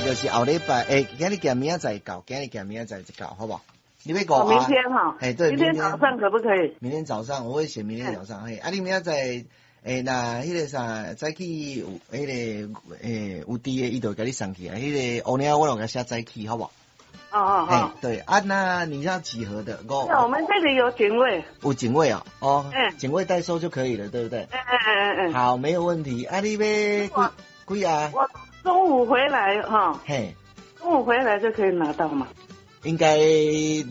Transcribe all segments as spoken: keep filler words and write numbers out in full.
就是後禮拜，欸，今日寄明仔載到，今日寄明仔載就到，好無？你欲五明天哈？欸，對，明天早上可不可以？明天早上我會寫明天早上，嘿，啊，你明仔載，欸，若彼個啥早起有彼個欸有佇的，伊就會共你送去啊。彼個烏領我攏共寫早起，好無？哦哦哦，對啊，那你要幾盒的？我我們這裡有警衛，有警衛啊，哦，警衛代收就可以了，對不對？嗯嗯嗯嗯，好，沒有問題。啊，你欲幾幾盒？我中午回來哈，嘿，中午回來就可以拿到嗎？應該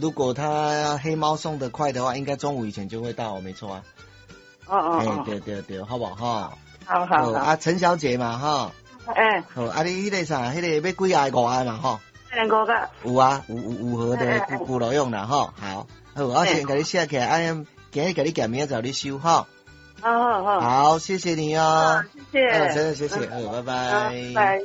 如果他黑貓送得快的話，應該中午以前就會到，沒錯啊。哦哦哦，對對對，好不好？哈，好好好。啊，陳小姐嘛，哈，欸，好，啊，你彼個啥，彼個欲幾盒？五盒嘛，吼。兩個個。有啊，有有有盒的，有有路用啦，吼，好，好，我先共你寫起來，啊，今日共你寄明仔載你收，吼。好好好。好，謝謝你哦。謝謝。真的謝謝，好，拜拜。拜。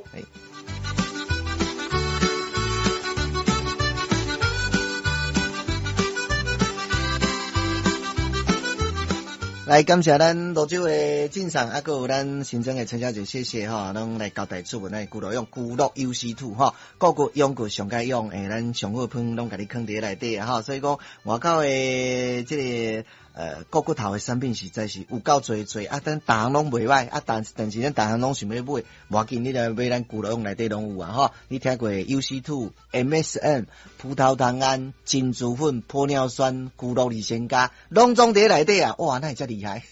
來感謝咱蘆洲的進上，啊，閣有咱新莊的陳小姐，謝謝吼，攏來交代出咱的龜鹿用龜鹿優思兔吼，顧骨養骨上佳養，欸，咱上好方攏共你囥佇內底吼，所以講外口的這個呃顧骨頭的產品實在是有夠濟濟啊，咱逐項攏袂䆀啊，但但是咱逐項攏想欲買，無要緊，你來買咱龜鹿用內底攏有啊吼，你聽過優思兔、M S M、葡萄糖胺、珍珠粉、玻尿酸、龜鹿二仙加，攏總佇內底啊，哇，哪會遮厲害？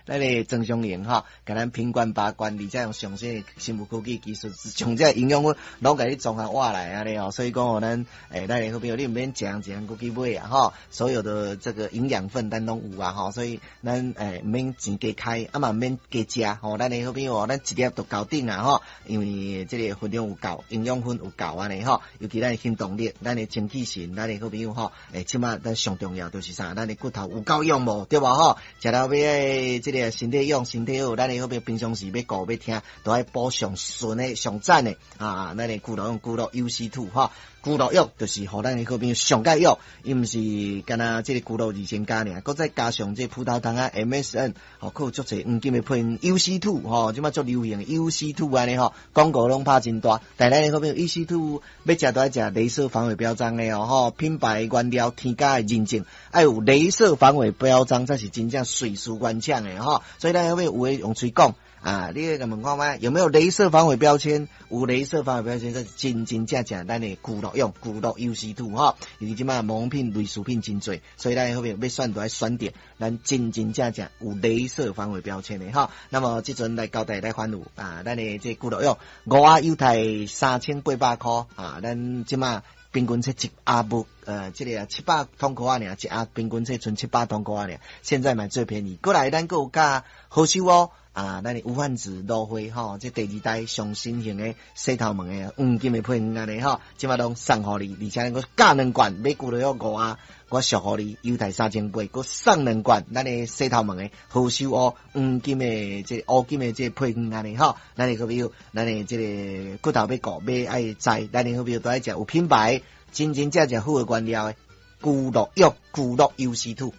咱的曾松齡吼，共咱品管把關，而且用上新的生物科技技術，將這營養粉攏共你綜合挖來按呢哦，所以講哦，咱欸，咱的好朋友，你毋免一項一項閣去買啊吼，所有的這個營養分咱攏有啊吼，所以咱欸毋免錢加開，啊嘛毋免加食吼，咱的好朋友，咱一粒就夠頂啊吼，因為這個分量有夠，營養分有夠按呢吼，尤其咱的行動力，咱的精氣神，咱的好朋友吼，欸，這馬咱上重要就是啥？咱的骨頭有夠用無？對無吼？食了欲這個身體用，身體好，咱的好朋友平常時欲顧欲聽，都愛補上純的、上讚的啊！咱的龜鹿用龜鹿優思兔吼，龜鹿藥就是予咱的好朋友上蓋藥，伊毋是干焦這個龜鹿二仙加爾，閣再加上這個葡萄糖啊 M S N，吼，閣有足濟黃金的配方優思兔吼，這馬足流行優思兔按呢吼，廣告攏拍真大，但咱的好朋友優思兔欲食都愛食鐳射防偽標章的哦，吼，品牌原料添加的認證，愛有鐳射防偽標章才是真正瑞士原廠的吼，所以咱後尾有的用喙講啊，你來問看覓有沒有鐳射防偽標籤？有鐳射防偽標籤，才是真真正正咱的龜鹿用龜鹿優思兔吼。因為這馬模品類似品真濟，所以咱後面欲選都愛選擇咱真真正正有鐳射防偽標籤的吼。那麼這陣來交代來反有啊，咱的這龜鹿用五盒猶太三千八百箍啊，咱這馬平均說一盒無呃，這個七百通箍仔爾，一盒平均說賰七百通箍仔爾，現在買最便宜。過來咱閣有加好收哦。啊，咱的無患子蘆花吼，這第二代上新型的洗頭毛的黃金的配方按呢吼，這馬攏送予你，而且閣加兩罐，買龜鹿用五盒，我俗予你猶太三千八，閣送兩罐，咱的洗頭毛的何首烏黃金的這個烏金的這個配方按呢吼，咱的好朋友，咱的這個骨頭欲顧欲愛知，咱的好朋友都愛食有品牌、真真正正好的原料的龜鹿藥、龜鹿優思兔。